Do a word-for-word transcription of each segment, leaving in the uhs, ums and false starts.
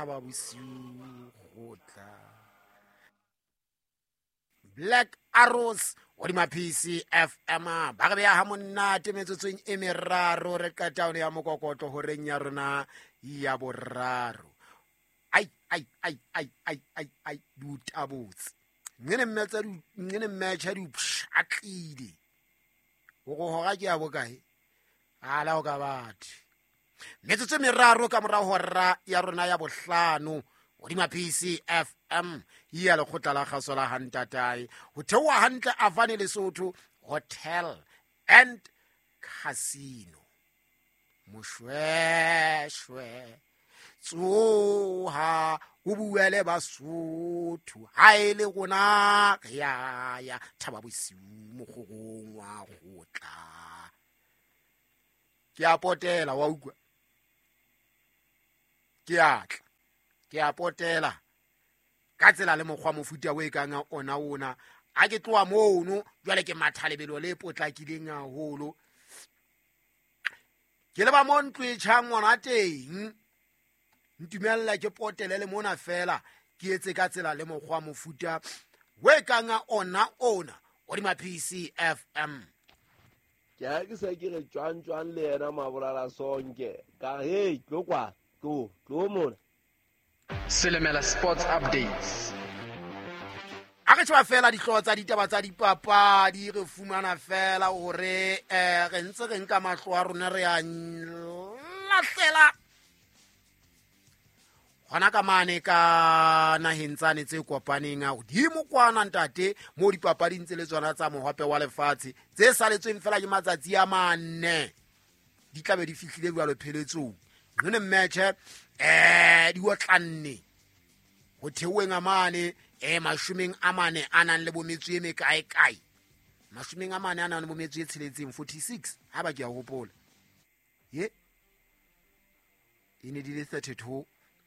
Thaba Bosiu kgotla. Black Arrows hodima P C F M ba re beha ha monate metsotsong e meraro re qeta hona ya mokokotlo horeng ya rona ya boraro. Ai ai ai ai ai ai ai dutabotse ngene mmetsa ngene mmetsa di pshatlile o go hora ke ya bokae ala o ka batho metsotso e meraro ka morao hora ya rona ya bohlano hodima P C F M ya lekgotla la kgaso la Hantatae ho theoha hantle Avane Lesotho Hotel and Casino. Moshweshwe tsoha o bue le Basotho ha e le rona re ya ya Thaba Bosiu mokgorong wa kgotla. Ke a potela wa utlwa, ke a tla ke a potela ka tsela le mokgwa mofuta o e kang ona ona a ke tloha mono jwale ke matha lebelo le potlakileng haholo ke leba mo ntlo e tjhang ngwana teng ntumella ke potele le mona fela ke etse ka tsela le mokgwa mofuta o e kang ona ona hodima P C F M. Ke ha ke se ke re tjwang tjwang le yena Mabolala Sonke ka hey tlo kwa tlo tlo mona. Selemela Sports Updates. A re tjwa fela dihlooho tsa ditaba tsa dipapadi re fumana fela hore eh re ntse re nka mahlo a rona re a lahlela hona ka mane ka naheng tsane tse kopaneng a hodimo kwana ntate mo dipapading tse le tsona tsa mohope wa lefatshe tse saletsweng fela ke matsatsi a manne di tlabe di fihlile jwalo pheletsong nne match eh di otlanne ho theoheng a mane eh mashomeng a mane a nang le bometso e mekae kae mashomeng a mane a nang le bometso e tsheletseng forty-six ha ba ke a hopola ye e ne di le thirty-two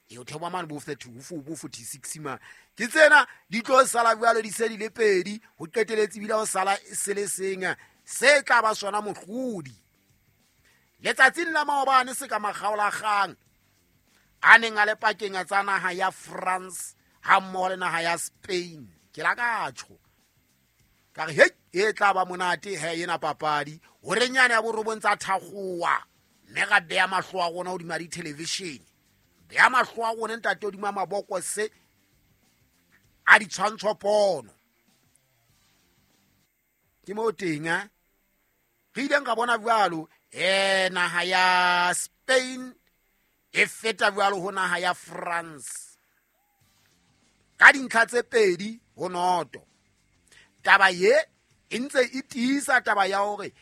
e o theoha mane bo thirty-two bo forty-six ma ke tsena di tlo sala jwalo di se di le pedi ho qeteletse bila ho sala se le seng se tla ba sona mohlodi. Letsatsing la maobane se ka makgaolakgang a neng a le pakeng tsa naha ya France ha mmoho le naha ya Spain ke la ka tjho ka re hei e tla ba monate he ena papadi hore nyane ya borobong tsa thakgowa mme ra beya mahlo a rona hodima di-television beya mahlo a rona ntate hodima mabokose a ditshwantshopono ke mo teng a re ileng ka bona jwalo eh naha ya Spain e feta jwalo ho naha ya France ka dintlha tse pedi ho noto. Taba ye e ntse e tiisa taba ya hore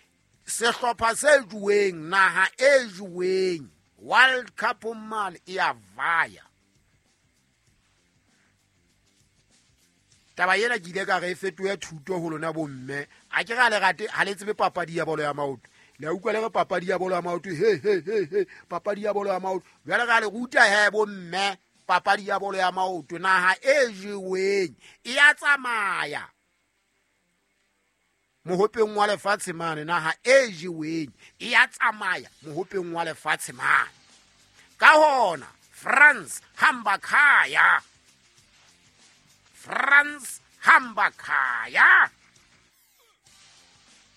sehlopha se juweng naha e juweng World Cup mane e a vaya. Taba ena ke ile ka re e fetohe thuto ho lona bomme a ke ra le rate ha le tsebe papadi ya bolo ya maoto le a utlwa le re papadi ya bolo ya maoto he he he he papadi ya bolo ya maoto jwale ka le ruta he bomme papadi ya bolo ya maoto naha e jeweng e ya tsamaya mohopeng wa lefatshe mane naha e jeweng e ya tsamaya mohopeng wa lefatshe mane ka hona France hamba khaya France hamba khaya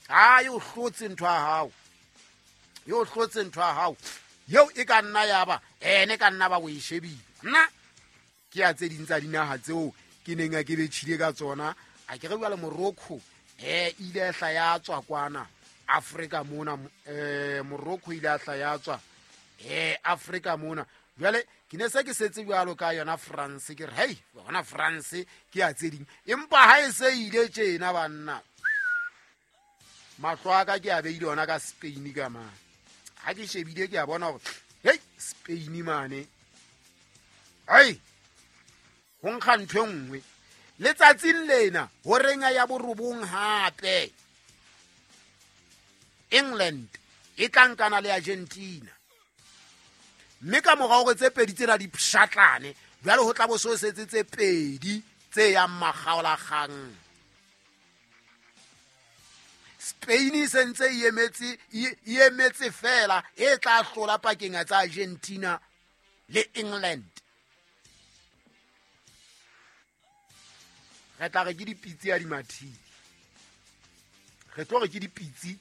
ha yo hlotse ntho ya hao yo hlotse ntho ya hao eo e ka nna ya ba ene ka nna ba o e shebile nna ke ya tse ding tsa dinaha tseo ke neng a ke betjhile ka tsona a ke re jwale Morocco eh ile hla ya tswa kwana Afrika mona eh Morocco ile hla ya tswa eh Afrika mona jwale ke ne se ke setse jwalo ka yona France ke re hey yona France ke ya tse ding empa ha e se ile tjena banna mahlo a ka ke a beile yona ka Spain ka mane ha ke shebile ke a bona hore hey Spain mane ai ho nkga ntho e nngwe letsatsing lena horeng ya borobong hape England e tla nkana le Argentina mme ka morao hore tse pedi tsena di pshatlane jwale ho tla bo so setse tse pedi tse yang makgaolakgang. Spain e sentse e emetse e emetse fela e tla hlola pakeng tsa Argentina le England. Re tla re ke dipitsi ha di mathile. Re tlo re ke dipitsi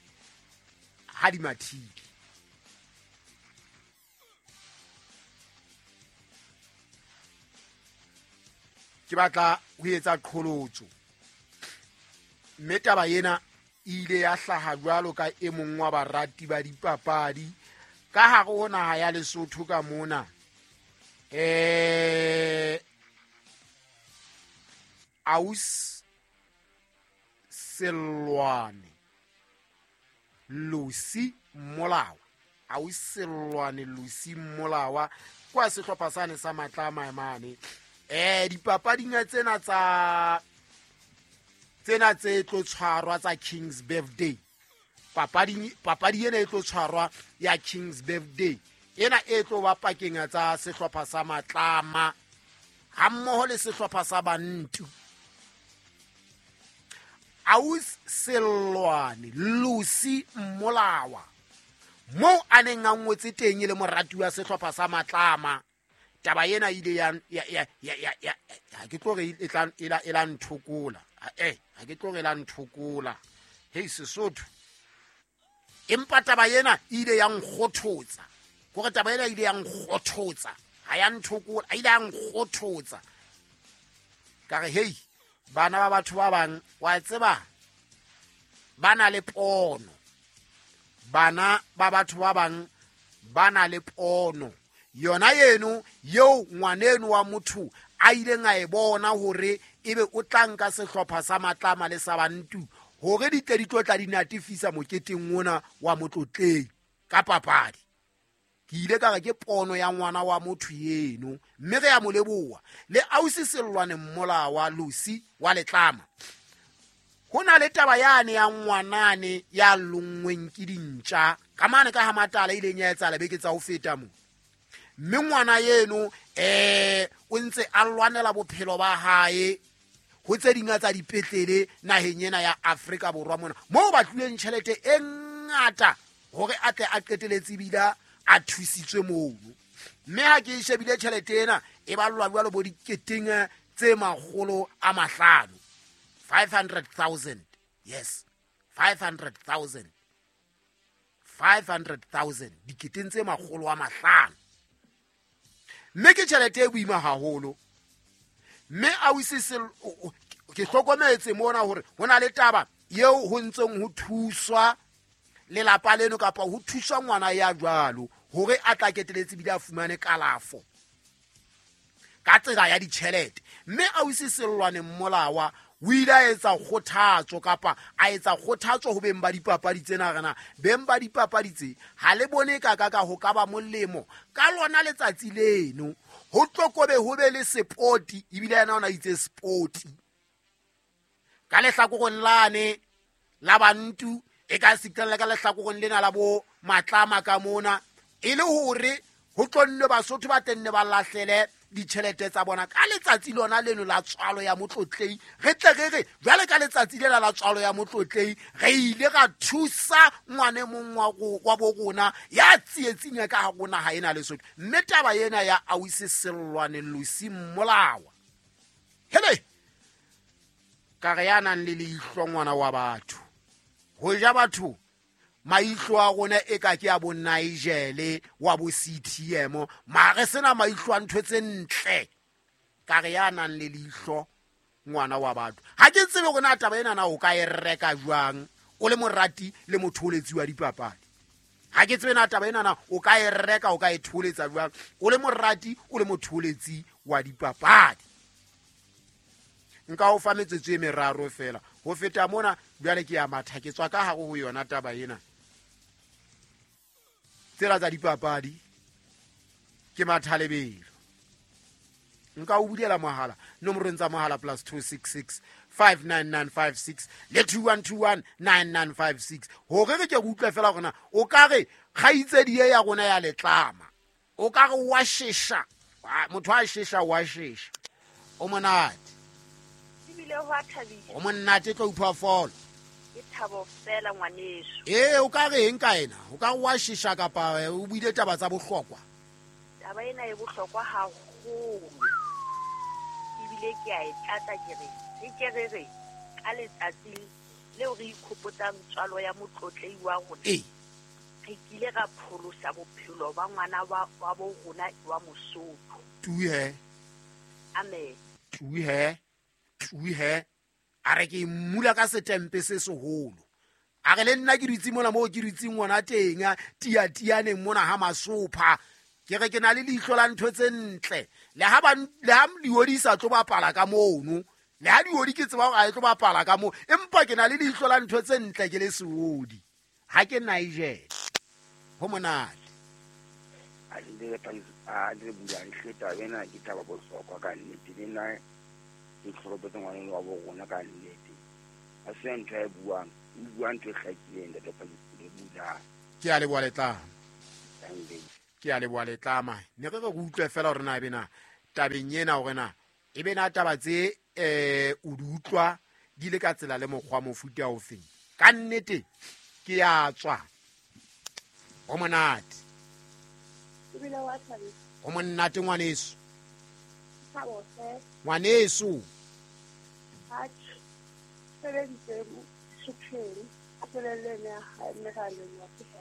ha di mathile. Ke batla ho etsa qholotso. Mme taba ena e ile ya hlaha jwalo ka e mong wa barati ba dipapadi ka hare ho naha ya Lesotho ka mona. Eh Aus Sellwane Lucy Molawa, Aus Sellwane Lucy Molawa kwa sehlopha sane sa Matlama mane. Eh dipapading tsena tsa tsena tse tlo tshwarwa tsa King's Birthday. Papadi papadi ena e tlo tshwarwa ya King's Birthday. Ena e tlo ba pakeng tsa sehlopha sa Matlama ha mmoho le sehlopha sa Bantu. Aus Sellwane Lucy Molawa mo a neng a ngotse teng e le morati wa sehlopha sa Matlama. Taba ena ile ya ya ya ya ya ha ke tlo re e tla e la e la nthokola. Eh ha ke tlo re la nthokola. Hei Sesotho. Empa taba ena ile ya nkgothotsa. Kore taba ena ile ya nkgothotsa. Ha ya nthokola, ile ya nkgothotsa. Ka re hei bana ba batho ba bang wa tseba ba na le pono. Bana ba batho ba bang ba na le pono. Yona yeno yeo ngwaneno wa motho a ileng a e bona hore ebe o tla nka sehlopha sa Matlama le sa Bantu hore di tle di tlo tla di natifisa moketeng ona wa motlotleng ka papadi. Ke ile ka re ke pono ya ngwana wa motho yeno mme re ya mo leboha le Ausi Sellwane Molawa Lucy wa Letlama. Ho na le taba yane ya ngwanane ya lonngweng ke dintja ka mane ka ha Matala ileng ya etsahala beke tsa ho feta mo. Mme ngwana yeno eh o ntse a lwanela bophelo ba hae ho tse ding tsa dipetlele naheng ena ya Afrika Borwa mona moo ba tlileng tjhelete e ngata hore a tle a qeteletse bila a thusitswe mono. Mme ha ke shebile tjhelete ena e ballwa jwalo bo diketeng tse makgolo a mahlano, five hundred thousand. Yes, five hundred thousand, five hundred thousand, diketeng tse makgolo a mahlano. Mme ke tjhelete e boima haholo. Mme Ausi ke hlokometse mona hore ho na le taba eo ho ntseng ho thuswa lelapa leno kapa ho thuswa ngwana ya jwalo hore a tla keteletse bile a fumane kalafo ka tsela ya ditjhelete. Mme Ausi Sellwane Molawa o ile a etsa kgothatso kapa a etsa kgothatso ho beng ba dipapadi tsena rena. Beng ba dipapadi tse ha le bone ka ka ka ho ka ba molemo ka lona letsatsi leno ho tlo kobe ho be le sepoti ebile yena ona itse sepoti ka lehlakoreng lane la Bantu e ka sitella ka lehlakoreng lena la bo Matlama ka mona e le hore ho tlo nne Basotho ba tenne ba lahlele ditjhelete tsa bona ka letsatsi lona leno la tswalo ya motlotlei. Re tle re re jwale ka letsatsi lena la tswalo ya motlotlei re ile ra thusa ngwane mong wa wa bo rona ya tsietsing ya ka ha rona ha ena Lesotho. Mme taba ena ya Ausi Sellwane Lucy Molawa hele ka re ya nang le leihlo ngwana wa batho ho ja batho maihlo a rona e ka ke a bo Nigel wa bo C T M mare sena maihlo a ntho tse ntle ka re ya nang le leihlo ngwana wa batho. Ha ke tsebe hore na taba ena na o ka e reka jwang o le morati le motholetsi wa dipapadi. Ha ke tsebe na taba ena na o ka e reka o ka e tholetsa jwang o le morati o le motholetsi wa dipapadi. Nka o fa metsotso e meraro fela ho feta mona jwale ke ya matha ke tswa ka hare ho yona taba ena. Tsela tsa dipapadi ke mathalebelo. Nka o bulela mohala nomorong tsa mohala plus two six six five nine nine five six le two one two one nine nine five six hore re ke utlwe fela hore na o ka re kgaitsedi ya rona ya Letlama o ka re wa shesha motho a shesha wa shesha o monate ebile ho a thabisa o monate tlo upha folo ke thabo fela ngwaneso. Eh o ka re eng ka ena o ka wa shesha kapa o buile taba tsa bohlokwa? Taba ena e bohlokwa haholo Ebile ke a e tlatsa ke re re ke re re ka letsatsi leo re ikgopotsang tswalo ya motlotlei wa rona. Ee. Re kile ra pholosa bophelo ba ngwana wa wa bo rona wa Mosotho. Tuhe. Amen. Tuhe. Tuhe. A re ke mmula ka setempe se seholo. A re le nna ke dutse mona moo ke dutseng ngwana teng tia tianeng mona ha masopha. Ke re ke na le leihlo la ntho tse ntle. Le ha ba le ha diodi sa tlo bapala ka mono. Le ha diodi ke tseba hore a e tlo bapala ka moo, empa ke na le leihlo la ntho tse ntle ke le seodi. Ha ke Nigel. Ho monate. A le a le bula nhleta ena ke taba bohlokwa ka nnete le nna ke tlhoropetse ngwana wa bo rona ka nnete. A se ntho e buang, o bua ntho e hlakileng ntate le bula. Ke a leboha Letlama. Ke a leboha Letlama. Ne re re utlwe fela hore na ebe na tabeng ena hore na ebe na taba tse eh o di utlwa di le ka tsela le mokgwa mofuta o feng. Ka nnete ke ya tswa. Ho monate. Ebile wa thabisa. Ho monate ngwaneso. Thabo hle. Ngwaneso. Atjhe. Sebeditse supheng. A tswelelle ne ha meraleng wa tshela.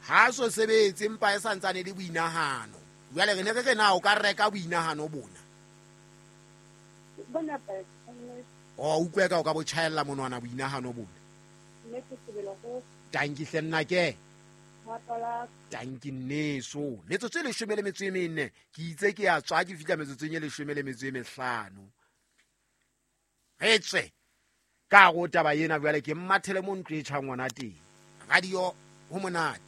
Ha so sebetse empa e santsane le boinahano. Jwale re ne re re na o ka reka boinahano bona. Bona ba. O utlwe ka o ka bo tjhaella monwana boinahano bona. Mme ke sebele go. Tanki hle nna ke. Tanki nneso. Metsotso e leshome le metso e mene. Ke itse ke a tswa ke fihla metsotsong e leshome le metso e mehlano. Re tswe. Ka go taba ena jwale ke mmathele mo ntlo e tjhang ngwana teng. Radio ho monate.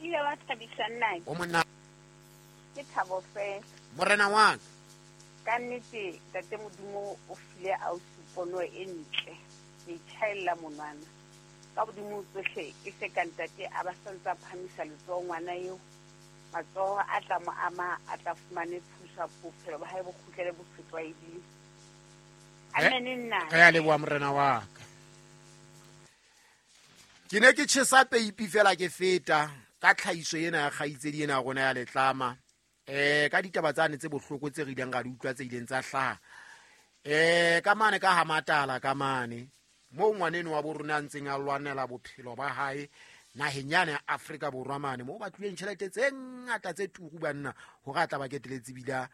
Ile wa thabisa nna. Ho monate. Ke thabo fela. Morena wa ka. Ka nnete ntate Modimo o file ausi pono e ntle. Ke tjhaella monwana. Ka bodimo tsohle e se ka ntate a ba santsa phamisa letsoho ngwana eo. Matsoho a tla mo ama a tla fumane thuso bophelo ba hae bo kgutlele bo setlwaeding. Amen nna. Re a leboha morena wa ka. Ke ne ke tjhesa peipi fela ke feta ka tlhahiso ena ya kgaitsedi ena ya rona ya Letlama. Eh ka ditaba tsane tse bohloko tse re ileng ra di utlwa tse ileng tsa hlaha. Eh ka mane ka Hamatala ka mane mo ngwaneno wa bo rona a ntseng a lwanela bophelo ba hae naheng yane ya Afrika Borwa mane mo ba tlileng tjhelete tse ngata tse turu banna hore a tla ba keteletse bila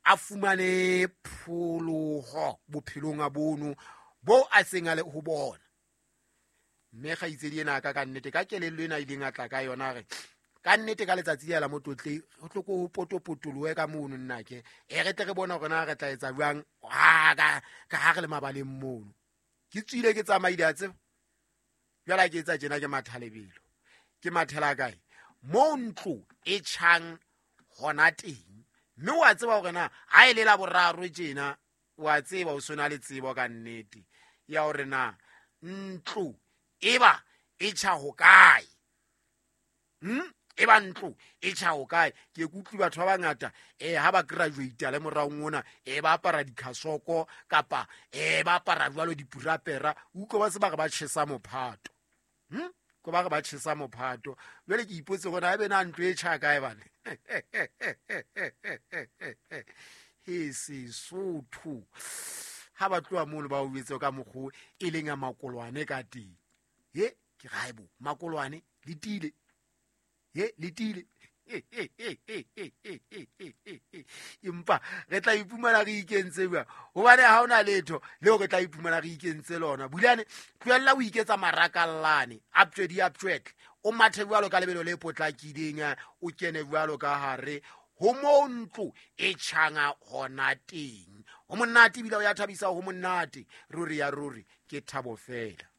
a fumane pholoho bophelong a bono bo a seng a le ho bona. Mme kgaitsedi ena ka ka nnete ka kelello ena ileng a tla ka yona re ka nnete ka letsatsi le la motlotle ho tlo ko potopotoloe ka mono nna ke e re tle re bona hore na re tla etsa jwang ha ka ka ha re le mabaleng mono. Ke tswile ke tsamaile a tseba. Jwale ke etsa tjena ke mathalebelo. Ke mathela kae? Mo ntlo e tjhang hona teng. Mme wa tseba hore na ha e le la boraro tjena wa tseba o sona le tsebo ka nnete ya hore na ntlo eba e tjha ho kae. Hm? Eba ntlo e tjha ho kae? Ke kutlwi batho ba bangata eh ha ba graduate le moraong ona eh ba apara dikhasoko kapa eh ba apara jwalo dipurapera utlwe ba se ba re ba tjhesa mophato. Hm? Ko ba re ba tjhesa mophato. Jwale ke ipotse hore na ebe na ntlo e tjha kae bana. He Sesotho. Ha ba tloha mono ba o jwetse ka mokgo e leng a makolwane ka teng. He ke raebo makolwane le tile. He le tile. Empa re tla ipumana re ikentse bua hobane ha ona letho leo re tla ipumana re ikentse lona. Bulane tlohella o iketsa marakallane uptrade uptrade o mathe jwalo ka lebelo le potlakileng o kene jwalo ka hare ho mo ntlo e tjhanga hona teng. Ho monate ebile o ya thabisa ho monate ruri ya ruri ke thabo fela.